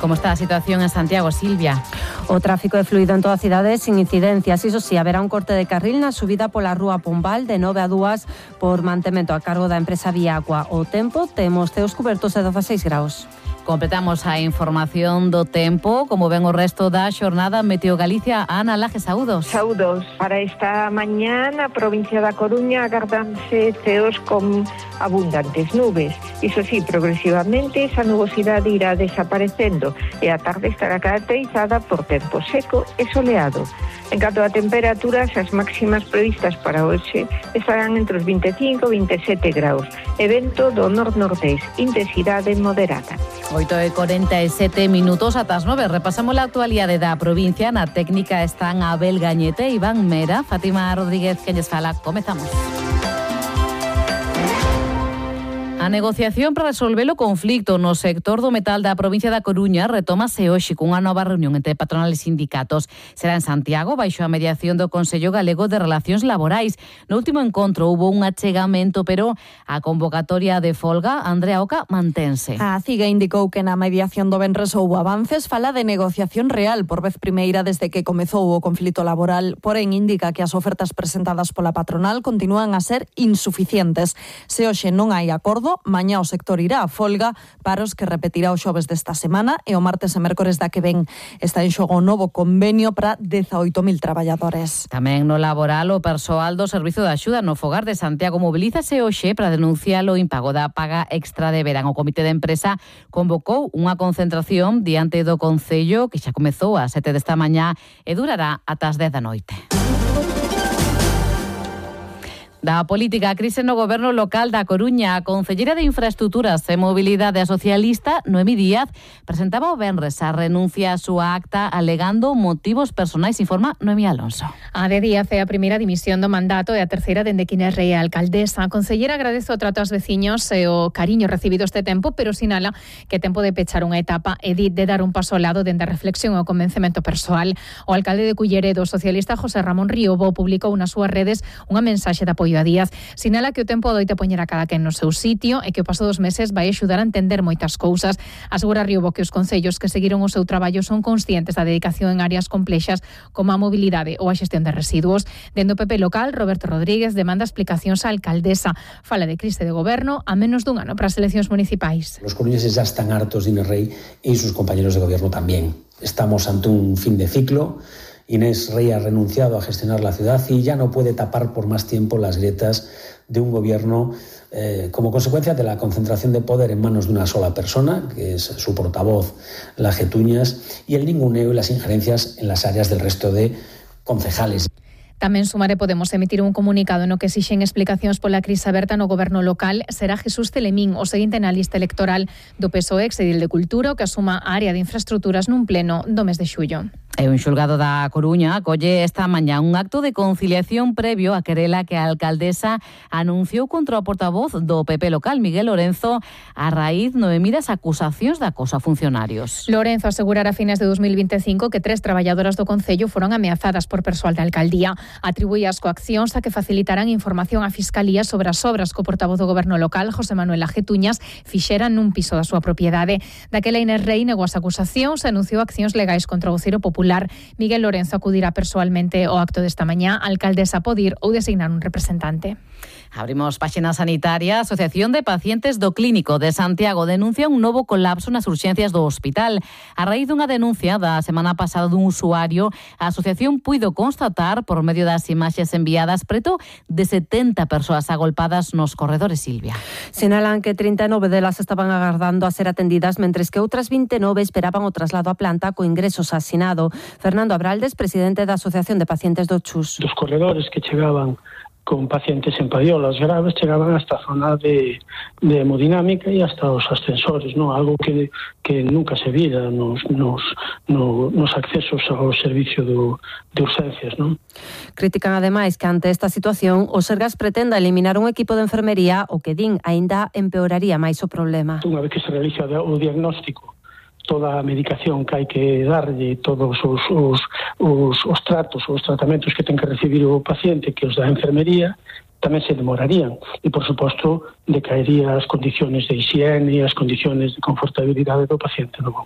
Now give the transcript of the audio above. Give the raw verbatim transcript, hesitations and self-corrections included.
¿Cómo está la situación en Santiago, Silvia? O tráfico é fluido en toda a cidade sin incidencias. Iso sí, haberá un corte de carril na subida pola rúa Pombal de nove a dúas por mantemento a cargo da empresa Viacua. O tempo, temos ceos cubertos de dezaseis graus. Completamos a información do tempo, como ven o resto da xornada. Meteo Galicia, Ana Laje, saúdos. Saúdos. Para esta mañá na provincia da Coruña agardanse ceos con abundantes nubes. Iso sí, progresivamente esa nubosidade irá desaparecendo e a tarde estará caracterizada por tempo seco e soleado. En canto a temperaturas, as máximas previstas para hoxe estarán entre os vinte e cinco e vinte e sete graus. E vento do nor-nordés, intensidade moderada. oito e corenta e sete minutos ata as nove. Repasamos a actualidade da provincia. Na técnica están Abel Gañete, Iván Mera, Fátima Rodríguez, que lles fala. Comezamos. A negociación para resolver o conflicto no sector do metal da provincia da Coruña retómase hoxe cunha nova reunión entre patronal e sindicatos. Será en Santiago, baixo a mediación do Consello Galego de Relacións Laborais. No último encontro hubo un achegamento, pero a convocatoria de folga, Andrea Oca, mantense. A CIGA indicou que na mediación do venres houbo avances, fala de negociación real por vez primeira desde que comezou o conflito laboral, porén indica que as ofertas presentadas pola patronal continúan a ser insuficientes. Se hoxe non hai acordo, mañá o sector irá a folga, paros que repetirá o xoves desta semana e o martes e mércores da que ven. Está en xogo o novo convenio para dezaoito mil traballadores. Tamén no laboral, o persoal do Servizo de Axuda no Fogar de Santiago mobilízase hoxe para denunciar o impago da paga extra de verán. O comité de empresa convocou unha concentración diante do Concello que xa comezou ás sete desta mañá e durará ata as dez da noite. Da política, a crise no goberno local da Coruña. A concelleira de Infraestructuras e Mobilidade socialista, Noemí Díaz, presentaba o venres a renuncia a súa acta alegando motivos personais, informa Noemí Alonso. A de Díaz é a primeira dimisión do mandato e a terceira dende que é rei a alcaldesa. A concelleira agradece o trato aos veciños e o cariño recibido este tempo, pero sinala que é tempo de pechar unha etapa e de dar un paso ao lado dende a reflexión e o convencemento persoal. O alcalde de Culleredo, socialista José Ramón Riobo, publicou nas súas redes unha mensaxe de apoio a Díaz. Sinala que o tempo doite poñer a cada quen no seu sitio e que o paso dos meses vai axudar a entender moitas cousas. Asegura Riobo que os concellos que seguiron o seu traballo son conscientes da dedicación en áreas complexas como a mobilidade ou a xestión de residuos. Dende o P P local, Roberto Rodríguez demanda explicacións á alcaldesa. Fala de crise de goberno a menos dun ano para as eleccións municipais. Los coruñeses ya están hartos de Inés Rey y sus compañeros de gobierno también. Estamos ante un fin de ciclo. Inés Rey ha renunciado a gestionar la ciudad y ya no puede tapar por más tiempo las grietas de un gobierno eh, como consecuencia de la concentración de poder en manos de una sola persona, que es su portavoz, la Getuñas, y el ninguneo y las injerencias en las áreas del resto de concejales. Tamén Sumar e Podemos emitir un comunicado no que exixen explicacións pola crise aberta no goberno local. Será Jesús Telemín o seguinte na lista electoral do P S O E, exedil de Cultura, que asuma a área de infraestructuras nun pleno do mes de xullo. E un xulgado da Coruña acolle esta mañá un acto de conciliación previo a querela que a alcaldesa anunciou contra o portavoz do P P local, Miguel Lorenzo, a raíz de medidas acusacións de acoso a funcionarios. Lorenzo asegurara a fines de dos mil vinte e cinco que tres traballadoras do Concello foron ameazadas por persoal da alcaldía. Atribuía as coaccións a que facilitarán información á Fiscalía sobre as obras que o portavoz do goberno local, José Manuel Getuñas, fixera nun piso da súa propiedade. Daquela Inés Rey negou as acusacións e anunciou accións legais contra o voceiro popular. Miguel Lorenzo acudirá persoalmente ao acto desta mañá. A alcaldesa pode ir ou designar un representante. Abrimos páxina sanitaria. A Asociación de Pacientes do Clínico de Santiago denuncia un novo colapso nas urxencias do hospital. A raíz dunha denuncia da semana pasada dun usuario, a asociación puido constatar, por medio das imaxes enviadas, preto de setenta persoas agolpadas nos corredores, Silvia. Sinalan que trinta e nove delas estaban agardando a ser atendidas, mentres que outras vinte e nove esperaban o traslado a planta co ingreso asinado. Fernando Abraldes, presidente da Asociación de Pacientes do Chus. Dos corredores que chegaban con pacientes en padiolas graves chegaban hasta a zona de, de hemodinámica e hasta os ascensores, ¿no? Algo que, que nunca se vira nos, nos, no, nos accesos ao servicio do, de urgencias, ¿no? Critican ademais que ante esta situación o Sergas pretenda eliminar un equipo de enfermería o que din aínda empeoraría máis o problema. Unha vez que se realiza o diagnóstico, toda a medicación que hai que darlle, todos os, os, os, os tratos, os tratamentos que ten que recibir o paciente, que os da enfermería, tamén se demorarían. E, por suposto, decaería as condiciones de higiene e as condiciones de confortabilidade do paciente. Non?